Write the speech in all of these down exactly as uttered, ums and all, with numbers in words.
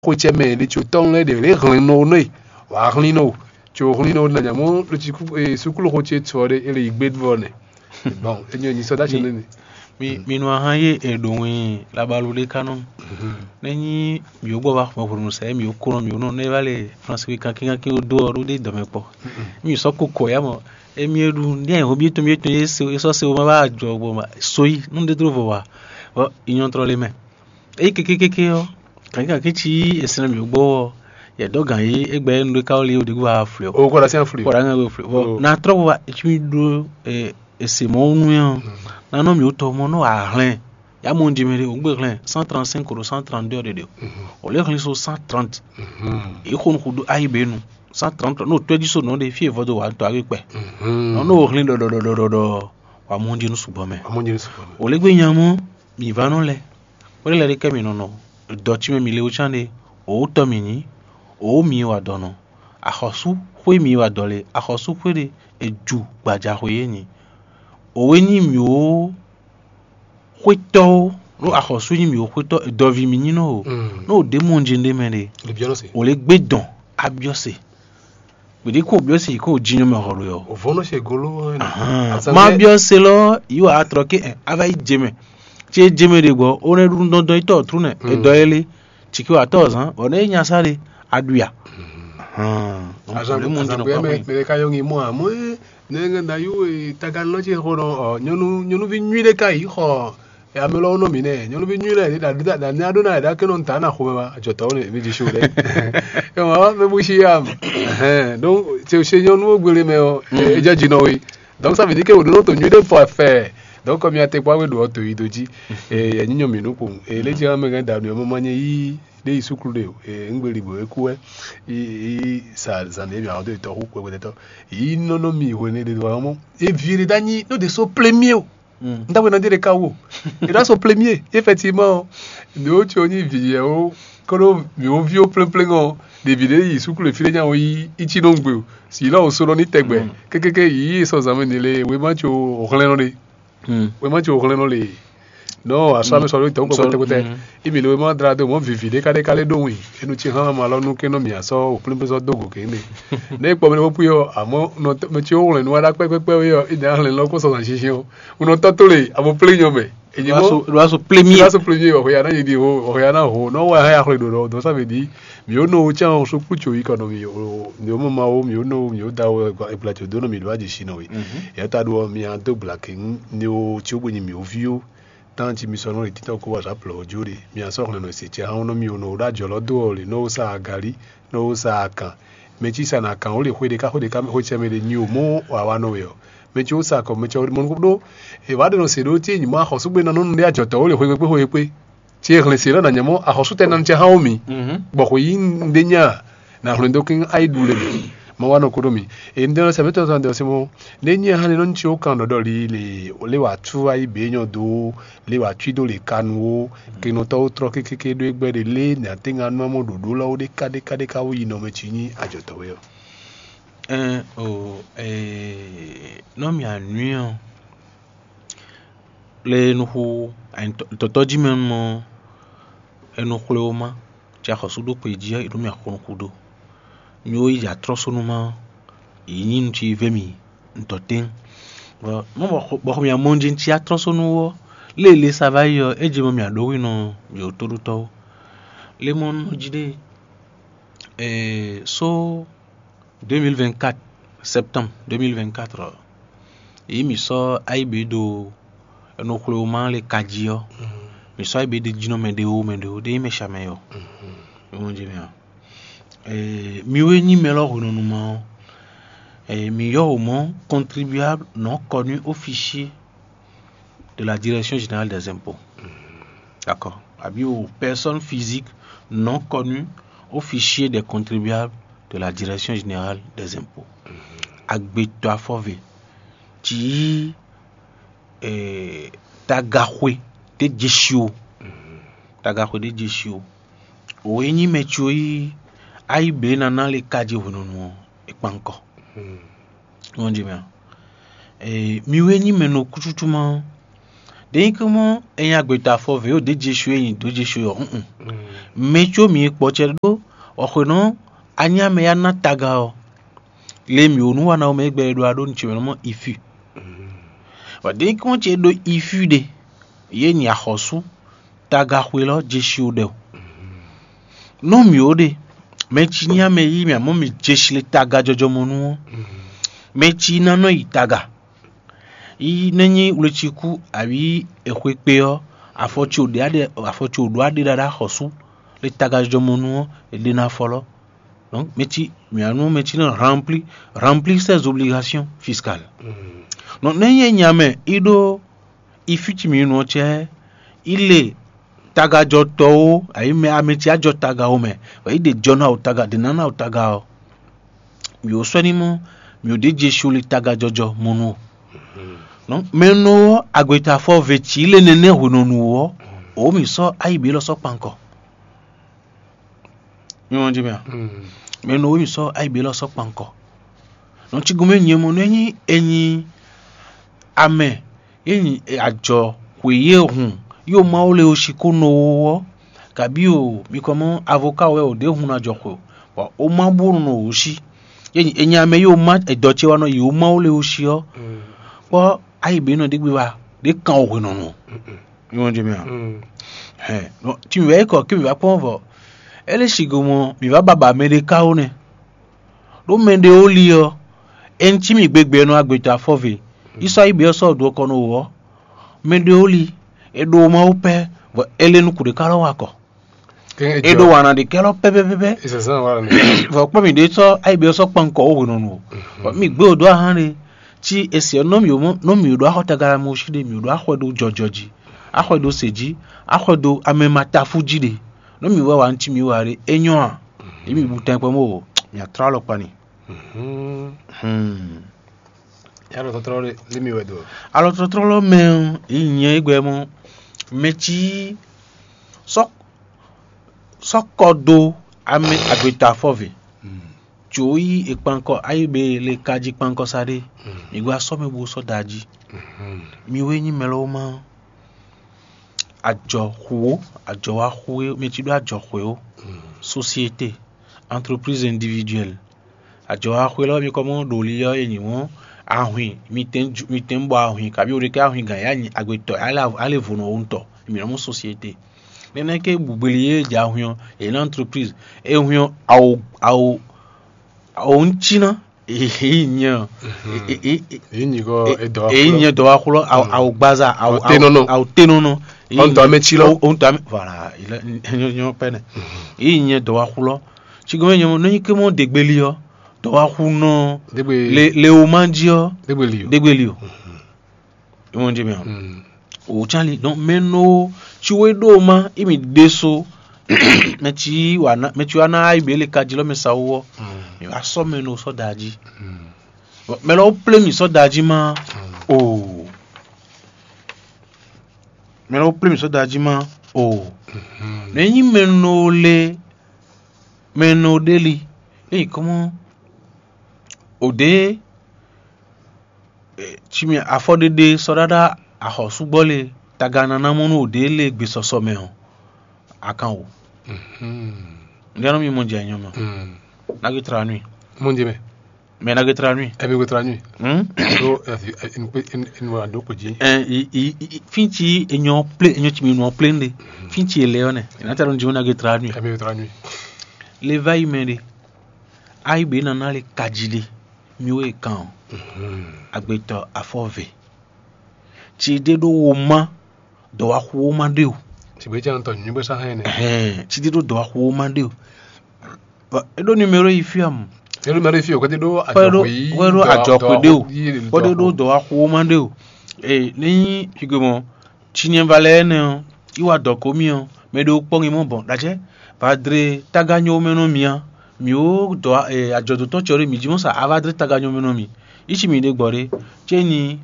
xwecɛ mɛ ɖě tso tɔn lɛ́ɛ ɖě lě hlɛn nɔ nɔ e wǎ hlín nɔ o tso hlín nɔ na nyamɔ ló ci kú e sukúlu xo ce tɔ ɖe e lè yi gbé vɔ nɛ. Bon, e nyɔ nyi sɔ dá tsi nɛ. Mi mi nɔ ahan yé e ɖo wɛn labalu ɖé ka nɔ. Ne nyi mi wo gbɔ va xɔmɛ hwenu sɛ mi wo kó nɔ mi wo nɔ ne va le France wi kankin kankin wo do ɔ ɖó ɖe dɔmɛ kpɔ. Mi sɔ ko kɔ ya mɔ emi e ɖu ní ayǐ hɔn bi etɔn bi etɔn yé se e sɔ se wo ma va jɔ gbɔ ma so yi nu ɖe dro vɔ wa. Bɔ inyɔtrɔ le mɛ. Eyi kékékéké ɔ́, kǎnkínkǎnkí cí esɛnɛ mǐ gbɔ ɔ́, yɛ dɔ̌ gǎn yí égbɛ́ nǔɖé ka wɔ lé ɖě gúdo aflɛ ɔ́. O kɔ ɖo así aflɛ. Kɔ ɖo aŋɛ wé flɛ. Bɔ na trɔ bɔ etsú ɖó ese mɔ nú yɛn ɔ́, na nɔ mǐ tɔ mɔ nɔ ahlɛn. Ya mɔ jí mɛ ɖé, o gbé hlɛn cent trente-cinq ɖo cent trente-deux ɖe ɖe. O lé hlɛn so cent trente. Yě xo nukún ɖó ayi bě nu. Cent trente, n'o tɔ́ jí so nɔ ɖe fí e vɔdó wǎ tɔ agbé kpɛ. Nɔ n'o hlɛn ɖɔɖɔɖɔɖɔɖɔ, wà mɔ jí nu sugbɔ mɛ. Amójúlé sɔkpɔ mɛ. O lé gbé nya mɔ mǐ va nɔ lɛ. Kpɛɖé lɛ ɖé kɛ mǐ nɔ nɔ dɔ cí mɛ mǐ le wó cán ɖe, wǒ tɔ́ mǐ nyí, wǒ mǐ wa dɔ nɔ. Axɔ̌sú xwé mǐ wa dɔ le, axɔ̌sú xwé ɖé è ju gbaja xwé é nyí. Òwe nyí mǐ wó xwétɔ́ ó, nú axɔ̌sú nyí mǐ wó xwétɔ́, dɔvi mǐ nyí nɔ o. Nú ò ɖě mɔ jɛn ɖé mɛ ɖe, Libyɔ́nɔsi. Ò lě gbé dɔn abyɔ́ se. Gběɖé kó byɔ́ se yě kó jinyɔ mɛ hɔn ɖo yɔ. Òvónɔ ṣe golo. Má byɔ́ se lɔ yìí wà á trɔ ké ɛ á va yi jɛ mɛ. Tí é jɛ mɛ ɖe gbɔ, ó nɛ ɖu dɔndɔn yi tɔ trú nɛ, é dɔ é lé. Tsi kí wà tɔ zán, bɔ nɛ é nya sá ɖe, a ɖu ya. Azangbe mɛ mɛ ka yɔ ŋi mɔ amɔ é ne ŋɛ da yú e taganlɔ ce xɔ nɔ ɔ nyɔnu nyɔnuvi nyui ɖe ka yi xɔ ame lɔ nɔ mi nɛ nyɔnuvi nyui lɛ ni da da da ni aɖo na ɛɖa kɛ nɔ ta na xɔmɛ ma ajɔtɔ ne mi di so lɛ. Ema mɛ bu si ya. Donc c'est chez nyɔnu wo gbele mɛ ɔ edza dzi nɔ we. Donc ça veut dire que o ɖo to nyui ɖe fɔ fɛ. Donc comme ya te kpɔ awe ɖo to yi do dzi. E nyɔ mi nu ko e le dzi ame gã da nu mo ma nye yi ɖe yi suklu ɖe o e ŋgbeli bo e ku wɛ. Yi sa zan ɖe mi awon do tɔ xu kpɛkpɛtɔ yi nɔnɔ mi hwe ne ɖe do wa mɔ e vi ɖe da nyi no de so plemier o. N ta wena de ɖe ka wo. E ɖo aso plemier effectivement. Ne wo tso nyi vi yɛ wo koɖo mi wo vi wo plɛnplɛn ɔ ɖevi ɖe yi suklu fi ɖe nya wo yi itsi nɔ gbe o si lɔ wo so nɔ ni tɛgbɛ. Kekeke yi sɔ zan mɛ ni le wema tso hlɛn nɔ ɖe. Wema tso hlɛn nɔ le. Non, asɔ ame sɔ ɖo tɔn kpɛkpɛtɛkpɛtɛ. Imi le wema dra do mɔ vivi ɖe ka ɖe ka le ɖo wi enu tsi hã ma lɔ nu ke nɔ mi asɔ o plɛnplɛn sɔ do go ke ne. Ne kpɔ mi ne ƒoƒu yɔ amɔ nɔ mɛ tsi wo hlɛn nu wa ɖa kpɛkpɛkpɛ yɔ ina hlɛn lɔ ko sɔ zan sisi o. Unɔ tɔ́ tó le abo plé nyɔ mɛ. Èyí mɔ Ɖo aso plé mí. Ɖo aso plé mí wɔ hɔya na yi di ho wɔ hɔya na ho nɔ wɔ hã yaxle ɖo ɖɔ dɔn sa mɛ di. Mi wo nɔ wo tiɛ wo so kplu tso yi kɔ nɔ mi o mi wo mɔ ma wo mi wo nɔ mi wo da wo ebla tso do nɔ mi ɖo adzi si nɔ we. Yɛ ta ɖo mi a do gbla ke ŋu ne wo tsi wo gbe nyi mi wo vi wo. Tan ci mi sɔ nɔ le titɔ ko wa sa plɔ wo jo ɖe mi a sɔ xlɛ nɔ se tiɛ hã wo nɔ mi wo nɔ wo ɖo adzɔ lɔ do ɔ le nɔ wo sa agali nɔ wo sa akan. Mɛ ci sa na kan wo le xwe ɖeka xwe ɖeka xwe tiɛ mɛ ɖe nyi o mɔ wa wa nɔ we ɔ. Mɛ ci wo sa kɔ mɛ ci wo mɔ nukún ɖo. E wa ɖe nɔ se ɖo tí nyuma axɔsúgbe na nɔnu ɖe ajɔtɔ wo le xwe kpekpe xwe kpekpe. Tí e hlɛn se lɔ na nyɛ mɔ axɔsú tɛ nanu tɛ hã wo mi. Bɔ xwe yi un ɖe nya na hlɛn dó kín ayi ɖu le mi. Ma wa nɔ ko ɖo mi. E un ɖe nɔ sɛ mɛ tɔn tɔn ɖe ɔsɛ mɔ. Ne nyi hã ne nɔ nyi ci wo kan ɖɔɖɔ li le le wa tu ayi be nyɔ do le wa tui do le kanu wo. Kenɔtɔ wo trɔ kékéké ɖo egbɛ ɖe le ne ate ŋa nɔ mɔ ɖoɖo lɔ wo ɖeka ɖeka ɖeka wo yi nɔ mɛ ci nyi ajɔtɔ we ɔ. Ɛn o ee nɔ mia nui ɔ le nuxu tɔtɔ ji mɛ mɔ enu xwle wo ma ci axɔsu ɖo kpe ji ɔ e ɖo mia xɔ nuxu ɖo mi wo yi atrɔsonu ma yi nyi nu ci vɛ mi ntɔ tɛn bɔ mɔ bɔ xɔ mia mɔ ji ci atrɔsonu wɔ lele sa va yi ɔ e je mɔ mia ɖo wi nɔ mi wo toɖotɔwo le mɔ nɔ ji ɖe ee so deux mille vingt-quatre septembre deux mille vingt-quatre ɔ yi mi sɔ ayi be do enu xwle wo ma le ka ji ɔ mi sɔ ayi be de jinɔ mɛ de wo mɛ de wo de yi mɛ sa mɛ yɔ mi mɔ ji mɛ ɔ ee mi wo nyi mɛ lɔ hwenɔnu ma ɔ ee mi yɔ o mɔ contribuable non connu au fichier de la direction générale des impôts. D'accord. Abi aux personnes physiques non connues au fichier des contribuables de la direction générale des impôts. Agbetɔ afɔve ci yí eh, tagaxwe ɖe jesi o. Tagaxwe ɖe jesi o. Wo e nyi mɛ ci o yi ayi be nana le ka je hwenɔnu ɔ e kpan kɔ. Wọ́n jẹ mɛ ɔ. Eh, mi wɛ nyi mɛ nɔ kucucu ma Ɖényíkúmɔ, è nyi agbětɔ́ afɔvé ɖo ɖě Jesu e nyi dǒ Jesu ɔ́, un. Mɛ có mǐ e kpɔ́ cɛ ɖó ɔxwěnɔ anyámɛ yá ná taga ɔ́, le mǐ wo nú wa ná mɛ e gbɛ e ɖó a ɖó nǔ ce mɛ nɔ mɔ ifi. Bɔ ɖényíkúmɔ ce ɖó ifi ɖe, yě nyi axɔ́sú taga xwelɔ́ Jesu ɖɛ o. Nú mǐ ó ɖe, mɛ ci nyí amɛ yí mì amɔ̌ mì jeshi le taga jɔjɔ mɔ nú ɔ́, mɛ ci ná nɔ yi taga. Yi nɛ́ nyí wleciku awǐ exwe kpe ɔ́, afɔ ce ò ɖe aɖe afɔ ce ò ɖó aɖe ɖaɖa xɔsú le taga jɔjɔ mɔ nú ɔ́, è ɖe ná fɔlɔ́. Donc mɛ ci mǐ wá nú mɛ ci nɔ rempli rempli ses obligations fiscales. Donc nɛ́ nyí nya mɛ yi ɖó yi fí ci mǐ nɔ cɛ yi le tagajɔtɔ́wo ayǐ mɛ amɛ ci ajɔ taga wo mɛ, bɔ yi ɖe jɔ ná o taga ɖe ná ná o taga ɔ́, mǐ wo sɔ́ ní mɔ mǐ wo ɖě Jesu li tagajɔjɔ mɔ nú o. Donc mɛ nɔ ɔ́ agbeta fɔ ve ci le nɛnɛ hwenɔnu ɔ́, o mǐ sɔ́ ayi bǐ lɔ sɔ́ kpankɔ. Mi wɔn jí mɛ a? Mɛ nɔ o mǐ sɔ́ ayi bǐ lɔ sɔ́ kpankɔ. Nɔ ci gomɛ nyɛ mɔ nɔ enyi enyi amɛ ye nyi ajɔ xwe ye hun yo Mawu le o si ko nɔ wo ɔ́, kabi o mi kɔ mɔ avoka wɛ o ɖě hun na jɔ xwe o, bɔ o ma bó nɔ o si. Ye nyi enyi amɛ yo ma edɔ ce wa nɔ yi o Mawu le o si ɔ́, kpɔ ayi bǐ nɔ ɖé gbe wa ɖě kan o hwenɔnu. Mi wɔn jí mɛ a? Hɛn, nɔ ci mi wɛ kɔ kí mi wá kpɔ́n vɔ. É lé si go mɔ mi wá baba mɛ ɖé ká ó nɛ. Ɖó mɛ ɖé ó li ɔ́, é ŋ cí mì gbegbe nɔ agbetɔ afɔve. Yísɔ ayí bǐ ɔ́ sɔ́ ɖu ɔkɔ nɔ wò ɔ́, mɛ ɖé ó li, é ɖo Mawu pɛ́, bɔ é lé nukún ɖé ká lɔ wa kɔ. É ɖó wana ɖé kɛ lɔ pɛ́pɛ́pɛ́. Vɔ kpɔ́ mì ɖé sɔ́ ayí bǐ ɔ́ sɔ́ kpan kɔ ó hwenɔnu o. Bɔ mì gbé wò dó ahán ɖé, cí e se ɔ́ nɔ mì nɔ mì ɖó axɔtagalamu sí ɖé, mì ɖó axɔɛ ɖó jɔjɔ jí, axɔɛ ɖó se jí, axɔɛ ɖó amɛ ma tafu jí ɖé. Nɔ mì wɛ wa ŋutí mì wa ɖé, é nyɔ́ a? Yě mì bu tɛn kpɔ́n bó mì atrá alɔkpa ni. Alɔtɔ́tlɔ́ lé mi wɛ do? Alɔtɔ́tlɔ́ mɛ ɔ́, yě nyɛ é gbɛ mɔ mɛ cí sɔ́ sɔ́ kɔ dó amɛ agbeta afɔve. Jǒ yí è kpankɔ ayíbe le ka jí kpankɔ sa ɖé. Mi gba sɔ́ mɛ bó sɔ́ da jí. Mi wé nyí mɛ lɔ́ ma ajɔ xu ó, ajɔ wa xu é, mi cí ɖó ajɔ xwe ó. Société, entreprise individuelle. Ajɔ wa xwe lɔ́ mi kɔ mɔ ɖo li ɔ́, è nyi wɔn ahwin, mi tɛn ju- mi tɛn bɔ ahwin, kabi o ɖe kɛ ahwin gǎn ya nyi agbetɔ, ale vo nɔ wo ŋutɔ, mi nɔ mɔ société. Nɛnɛ ke bugbeli ye jɛ ahwin ɔ́, è nyi na entreprise, e hwin ɔ́, awo awo awo ŋuti ná, èyí nyɛ ɔ, Èyí nyí kɔ edɔ èyí nyɛ dɔwaxu lɔ, awo awo gbaza, awo Awo tenɔnɔ. Awo tenɔnɔ. Ɔn tɔ amɛ tsi lɔ. Ohun tɔ amɛ voilà, il est nyɔ pɛnɛ. Èyí nyɛ dɔwaxu lɔ. Tsi gɔmɛ nyɛ nɔ nyi ke mɔ degbeli ɔ, dɔwaxu nɔ Dégbe le le o ma jí ɔ, dégbe li o. Degbeli o. Ìwọ̀n jẹ mi ɔ. Mm. O can li, donc mɛ nɔ tsi wo ɖo ma imi ɖe so mɛ tsi wa na mɛ tsi wa na ayi bɛ le ka jí lɔ mɛ sa wo ɔ. Mm. Mi wa sɔ mɛ nɔ sɔ da jí. Mm. Bon, mɛ lɔ wo plé mi sɔ da jí ma. Mm. O mɛ lɔ wo plé mi sɔ da jí ma. O Mhm. Ne nyi mɛ nɔ le mɛ nɔ ɖe li eyi kɔmɔ o ɖe tsi mɛ afɔɖeɖe sɔɖaɖa axɔsúgbɔ le taga nana mɔ nú o ɖe le gbesɔsɔ mɛ ɔ, a kan o. Mhm. Ndé anɔ mi mɔ jɛ nyɔ mɛ. Mm. Nage tra nui. Mɔ jɛ mɛ. Mɛ nage tra nui. Ɛ mi go tra nui. Hmm? Do ɛ fi ɛ in pe in in wa do ko ji. Ɛ i i i- fin tsi enyɔ ple enyɔ tsi mi nɔ ple nde. Fin tsi ele ɔ nɛ. Ina ta ɖo nji nage tra nui. Ɛ mi go tra nui. Le va yi mɛ ɖe. Ayi be nana le kaji ɖe. Mi wo kan o. Mhm. Agbetɔ afɔ ve. Tsi ɖe ɖo wo ma dɔwaxuwo ma ɖe o. Sigbe tse ŋutɔ nyuigbe sa hɛn nɛ. Ɛhɛn, tsi ɖe ɖo dɔwaxuwo ma ɖe o. Bɔ e ɖo numéro yi fia mu. E ɖo numéro yi fia o, kɔte ɖo kɔte ɖo ajɔxwe yi kɔte ɖo ajɔxwe ɖe o, kɔte ɖo dɔwaxuwo ma ɖe o. Ee, ne nyi figbe mɔ, tsi nyɛ va lɛ ɛnɛ ɔ, yi wa dɔ ko mi ɔ, mɛ ɖe kpɔ́n mi mɔ bɔn ɖajɛ va dre taga nyɔ mɛ nɔ mi a, mi wo dɔ ajɔdotɔ tsɔ ɖe mi ji mɔ sa a va dre taga nyɔ mɛ nɔ mi. Yi tsi mi ɖe gbɔ ɖe, tse nyi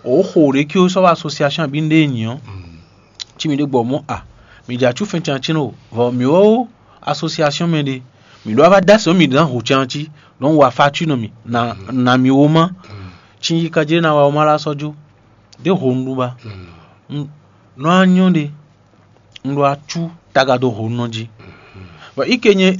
o xo ɖe ki o sɔ wa association abi nɖe nyi ɔ. Tsi mi ɖe gbɔ mɔ a, mi dza tsu fɛn can tsi no vɔ mi wo association mɛ ɖe, mi ɖo ava da sɔ mi dan ho can tsi nɔ wa fa tsu nɔ mi na na mi wo ma. Tsi yi ka jɛ na wa wo ma la sɔ jo de ho nu ba. Nɔ anyɔ ɖe, un ɖo acú taga dó honɔ jí. Bɔ ike nyɛ